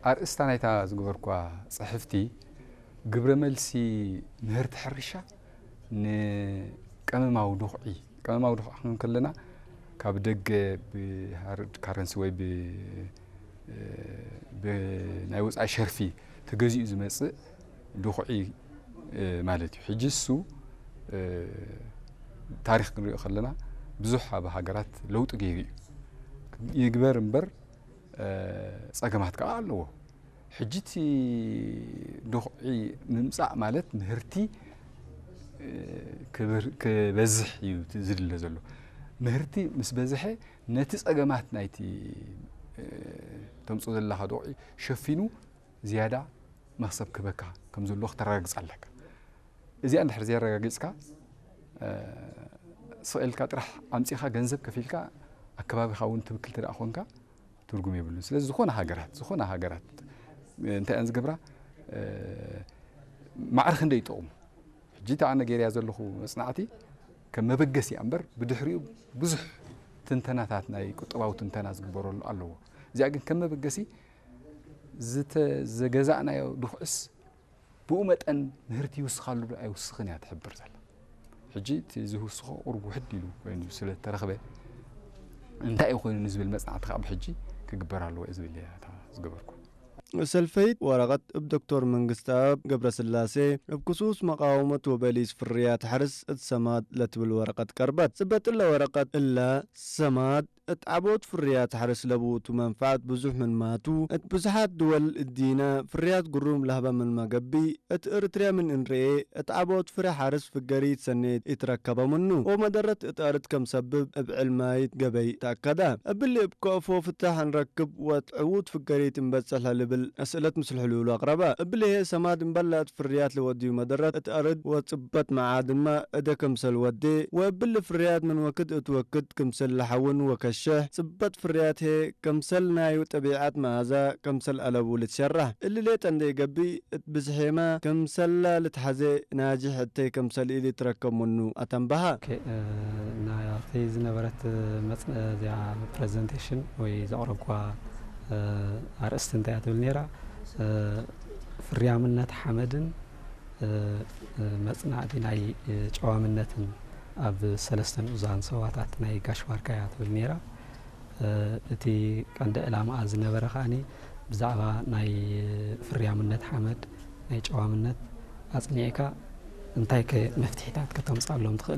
ኣርእስታ ናይታ ዝገበርኳ ጽሕፍቲ ግብረ መልሲ ምህርቲ ሕርሻ ንቀመማዊ ዱኽዒ፣ ቀመማዊ ዱኽዒ ክንብል ከለና ካብ ደገ ብሃርድ ካረንሲ ወይ ብ-፣ ብናይ ወጻኢ ሸርፊ ተገዚኡ ዝመጽእ ዱኽዒ ማለት እዩ። ሕጂ እሱ ታሪኽ ክንሪኦ ከለና ብዙሕ ኣብ ሃገራት ለውጢ ገይሩ እዩ። ይግበር እምበር ጸገማት ከኣ ኣለዎ። ሕጂ እቲ ዱኽዒ ምምጻእ ማለት ምህርቲ ክብር-፣ ክበዝሕ እዩ እቲ ዝድለ ዘሎ። ምህርቲ ምስ በዝሐ ነቲ ጸገማት ናይቲ ተምጽኦ ዘለኻ ዱኽዒ ሸፊኑ ዝያዳ መኽሰብ ክበካ ከም ዘለዎ ክተረጋግጽ ኣለካ። እዚኣ እንድሕር ዘየረጋጊጽካ ስቕ ኢልካ ጥራሕ ኣምጺኻ ገንዘብ ከፊልካ ኣከባቢኻ እውን ትብክል እንተ ደኣ ኮንካ ትርጉም የብሉን። ስለዚ ዝኾነ ሃገራት፣ ዝኾነ ሃገራት እንታይ እየን ዝገብራ? ማዕረ ክንደይ ይጠቕሙ? ሕጂ እታ ኣነ ገይረያ ዘለኹ መጽናዕቲ ከም መበገሲ እያ እምበር ብድሕሪኡ ብዙሕ ትንተናታት ናይ ቁጠባዊ ትንተና ዝግበረሉ ኣለዎ። እዚኣ ግን ከም መበገሲ ዝተ-፣ ዘገዛእናዮ ድኹዕስ ብኡ መጠን ምህርቲ ይውስኻሉ ዶ ኣይውስኽን እያ ትሕብር ዘላ። ሕጂ እቲ ዝውስኾ ቁሩብ ውሕድ ኢሉ ኮይኑ ስለ እተረኽበ እንታይ እዩ ኮይኑ ንዝብል መጽናዕቲ ከዓ ብሕጂ ክግበር ኣለዎ እየ ዝብል እየ እታ ዝገበርኩ። ሰልፈይት ወረቐት እብ ዶክተር መንግስተኣብ ገብረስላሴ እብ ክሱስ መቃወመት ወበሊስ ፍርያት ሐርስ እት ሰማድ ለትብል ወረቐት ቀርበት። ጽበጥ እለ ወረቐት እለ ሰማድ እት ዓቦት ፍርያት ሐርስ ለብኡቱ መንፈዓት ብዙሕ ምንማቱ እት ብዙሓት ድወል እዲነ ፍርያት ግሩም ለህበ ምንመ ገብእ እት እርትርያ ምን እንርኤ እት ዓቦት ፍሬ ሐርስ ፍገሪት ሰኔት ኢትረከበ ምኑ ወመደረት እት ኣርድ ከም ሰብብ እብ ዕልማይት ገበይ ተኣከደ። እብሊ እብ ከእፎ ፍታሕ እንረክብ ወእት ዕዉት ፍገሪት እንበጽሕ ለልብል እስእለት ምስል ሕሉሉ ኣቅረበ። እብሊ ህየ ሰማድ እምበለ እት ፍርያት ለወድዩ መደረት እት ኣርድ ወጽበት መዓድንመ እደ ክምሰል ወዴ ወእብሊ ፍርያት ምን ወክድ እት ወክድ ክምሰል ለሐውን ወከሸሕ ጽበት ፍርያት ህየ ክምሰል ናዩ ጠቢዓት መኣዛ ክምሰል ኣለቡ ልትሸራሕ። እሊ ሌጠ እንዴ ገብእ እት ብዝሔመ ክምሰለ ልትሐዜ ናጅሕ እተይ ክምሰል ኢሊ ትረከብ ምኑ ኣተንበሃ። ኦኬ፣ እ፣ ናብቲ ዝነበረት መጽ-፣ እዚኣ ፕሬዘንቴሽን ወይ ዘቕረብኳ፣ እ፣ ኣርእስቲ እንታይ እያ ትብል ነይራ? እ፣ ፍርያምነት ሓመድን፣ እ፣ እ፣ መጽናዕቲ ናይ፣ እ፣ ጨዋምነትን ኣብ ሰለስተ ንኡዛን ሰዋታት ናይ ጋሽ ባርካ እያ ትብል ነይራ። እ፣ እቲ ቀንዲ ዕላማኣ ዝነበረ ከኣኒ ብዛዕባ ናይ ፍርያምነት ሓመድ፣ ናይ ጨዋምነት ኣጽኒዕካ እንታይ ከ መፍትሒታት ከተምጽኣሎም ትኽእል?